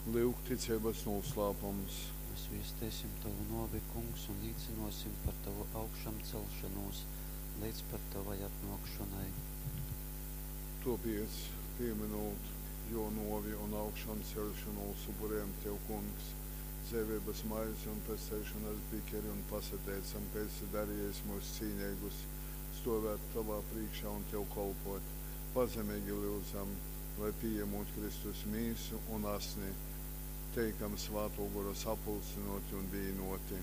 Lyuk ticeibas nūslāpums. Mēs viesteisim tovu nōvi, Kungs, un līcynōsim par tovu augšamceļšonūs leidz pat tovai atnōkšonai. Tōpēc, pīmynūt Jō nōvi un augšanceļšonūs, upurejam Tev, Kungs, dzeiveibas maizi un pesteišonas bikeri un pasateicam, ka esi darejis myus cīneigus stōvēt Tovā prīškā un Tev kolpōt. Pazemeigi lyudzam, lai, pījamūt Kristus Mīsu un Asni, teikam Svātō Gora sapulcynōti un vīnōti.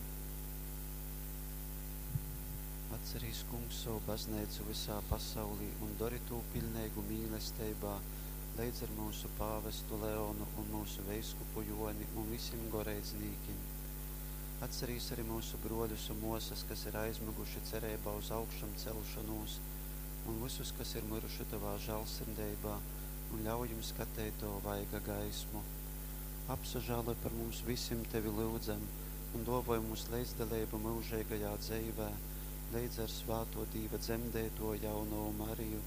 Atcerīs, Kungs, sovu Bazneicu vysā pasaulī un dori tū piļneigu mīlesteibā, leidz ar myusu pāvestu Leonu un myusu veiskupu Jōni un vysim goreidznīkim. Atcerīs ari myusu brōļus un mōsas, kas ir aizmyguši cereibā uz augšamceļšonūs, un vysus, kas ir myruši tovā žāļsirdeibā, un ļauj jim skateit tova vaiga gaismu. Apsažāloj par mums vysim, tevi lyudzam, un dōvoj mums leidzdaleibu myužeigajā dzeivē, leidz ar svātō Dīva dzemdeitōju jaunovu Mariju,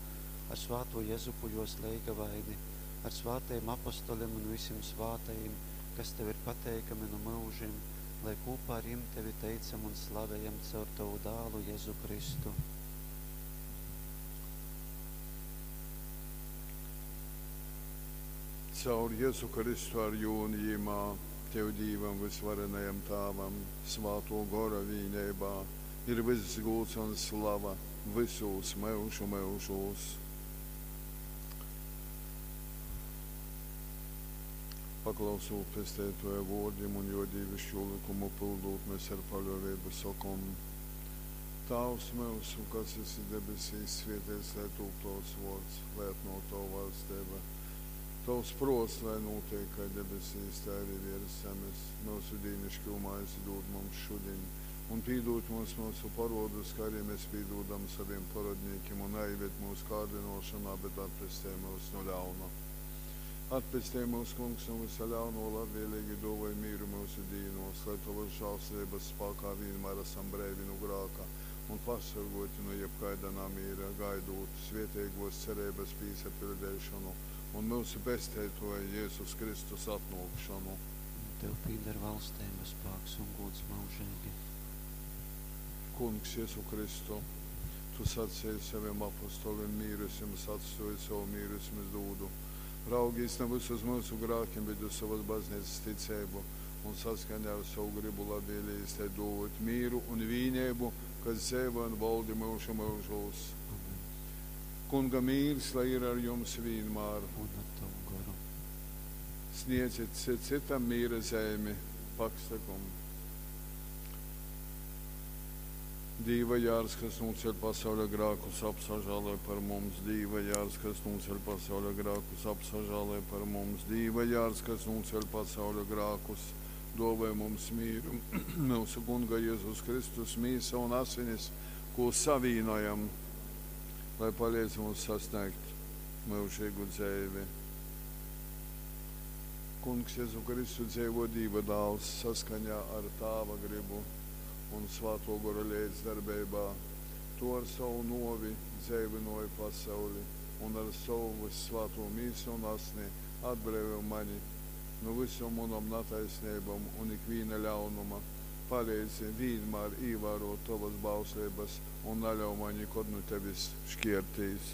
ar svātū Jezupu jōs leigavaini, ar svātajim apostolim un vysim svātajim, kas tev ir pateikami nu myužim, lai kūpā ar jim tevi teicam un slavejam caur tovu Dālu Jezu Kristu. Caur Jezu Kristu ar Jū un Jymā, Tev Dīvam Vysvarenajam Tāvam, Svātō Gora vīneibā, ir vyss gūds un slava vysūs myužu myužūs. Paklausūt Pesteitōja vōrdim un Jō dīviškū lykumu pyldūt, mes ar paļōveibu sokom, Tāvs myusu, kas esi debesīs, svēteits lai tūp Tovs vōrds, lai atnōk Tova vaļsteiba. Tovs prōts, lai nūteik kai debesīs, tai arī viers zemes. Myusu dīniškū maizi dūd mums šudiņ, un pīdūd mums myusu parodus, kā arī mēs pīdūdam saviem parodnīkim, un naieved mūsu kārdinošanā, bet atpestej mūs no ļauna. Atpestej mūs, Kungs, no visa ļauno, labvēlīgi dōvoj mīru myusu dīnos, lai Tovas žālsirdības spākā vienmēr esam breivi no grāka un pasorgoti no jebkaida namīra, gaidot svētīgos cerības pīsapildīšanu un mūsu Pesteitoja Jēzus Kristus atnākšanu. Tev pīder valstība, spēks un gods mūžīgi. Kungs Jēzu Kristu, Tu sacīji saviem apostoliem, mīru es jums atstāju, savu mīru es jums dūdu. Raugīs ne visus mūsu grākiem, bet uz savas baznīcas ticību un saskaņā ar savu gribu labvēlīgi tai dot mīru un vīnību, kas dzīvo un valdi mūžu mūžos. Kunga mīrs, lai ir ar jums vienmēr. Un ar tavu goru. Sniedziet citam mīra zemi, paksakumu. Dīva jārs, kas nūceļ pasauļa grākus, apsažāloj par mums. Dīva jārs, kas nūceļ pasauļa grākus, apsažāloj par mums. Dīva jārs, kas nūceļ pasauļa grākus, dāvāj mums mīru. Mūsu Kunga Jēzus Kristus mīsa un asinis, ko savīnojam, lai palīdz mums sasniegt mūžīgu dzīvi. Kungs Jēzu Kristu dzīvo Dīva dāls saskaņā ar Tāva gribu un Svāto Gora līdzdarbībā. Tu ar savu novi dzīvinoji pasauli un ar savu vissvāto mīsu un asni atbrīvo mani no visam manam netaisnībām un ikviena ļaunuma. Palīdzi vienmēr ievērot tavas bauslības un neļauj man nekad no tevis šķirties.